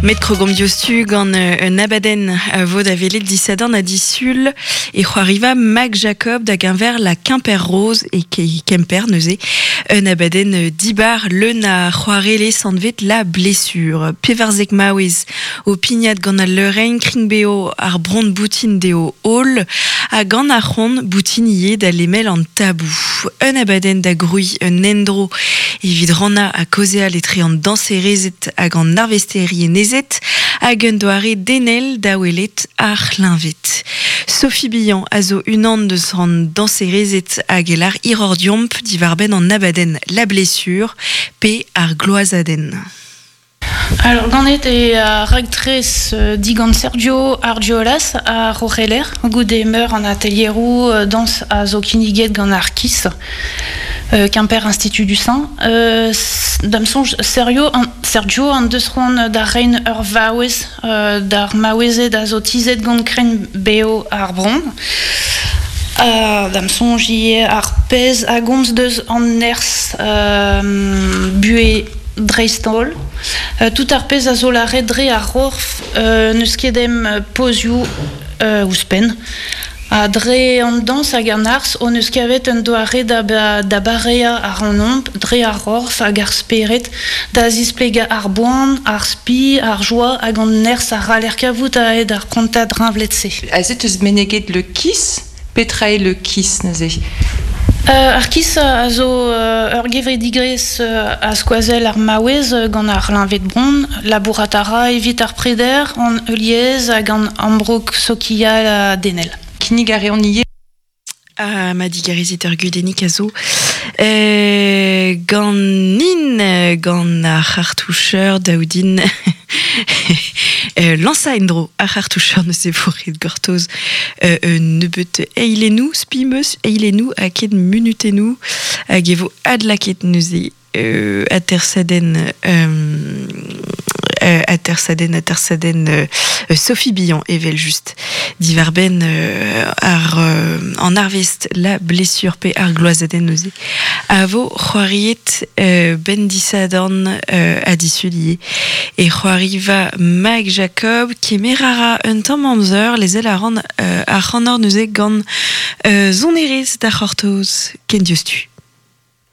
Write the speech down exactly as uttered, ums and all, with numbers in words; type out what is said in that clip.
Met krogomp diouzhtu gant un abadenn a vo da welet disadorn ha disul e c'hoariva Mac Jacob da geñver la Quimper Rose e Kemper neuze. Un abadenn dibar leun a c'hoarele sanvet la blessure. Pevarzek maouez o pignat gant al leurenn kringbeo ar bron boutin deo hol ha gant ar c'hont boutin ie da lemel an tabou. Un abadenn da groui un endro evit ranna a kaozeal etre an danserezed hag an arvesteri enezet hag un doare denel da welet ar c'hleñved. Sophie Billan a zo unan deus an danserezed hag elar irordiomp diwarbenn an abadenn La Blessure pe ar gloazadenn. Alors, ganet e a raktres euh, digant Sergio Argiolas a Rocheler, goude meur an atelieroù euh, dans a zo kinniget gant ar KIS, euh, Quimper Institut du Sein. Euh, da'm soñj Sergio an, Sergio an deus c'hoant da rein ur vaouez euh, d'ar maouezed a zo tizhet gant kren beo ar bron. Uh, da'm soñj ivez ar pezh a gomz deus an nerzh euh, buhez dreist-holl. Euh, tout ar pezh a zo lâret dre ar c'horf euh, n'eus ket em pozioù euh, ouzhpenn. Ha dre an dañs hag an arz hon eus kavet un doare da, ba, da bareañ ar anomp, dre ar c'horf hag ar spered, da zisplegañ ar boan, ar spi, ar joa hag an nerzh a c'haller kavout a-hed ar prantad reñvlet-se. Aze teus meneget le KIS, petra eo le KIS neuze? Euh, ar KIS a zo euh, ur gevredigezh euh, a skoazell ar maouez gant ar c'hleñved bron, labourat a ra evit ar preder, an heuliezh hag an ambroug sokial ha denel. Kinnig a reont ivez. Ah, ma digarezit ur gudennig a zo. Euh, gant nin, gant ar c'hartoucheur daoudin euh, lansa endro ar c'hartoucheur neuze vo ret gortoz euh, un nebeut eilennoù, spimeus eilennoù ha ket munutennoù hag e vo adlaket neuze euh, atersadenn euh, euh, atersadenn atersadenn euh, Sophie Billan evel just diwarbenn euh, ar euh, an arvest la blessure pe ar gloazadenn neuze a vo c'hoariet euh, ben disadorn euh, ha disul ivez e c'hoariva Mag Jacob kemer a ra un tamm amzer lezel a ran euh, ar c'hanor neuze gant euh, sonerezh da c'hortoz ken diouzhtu.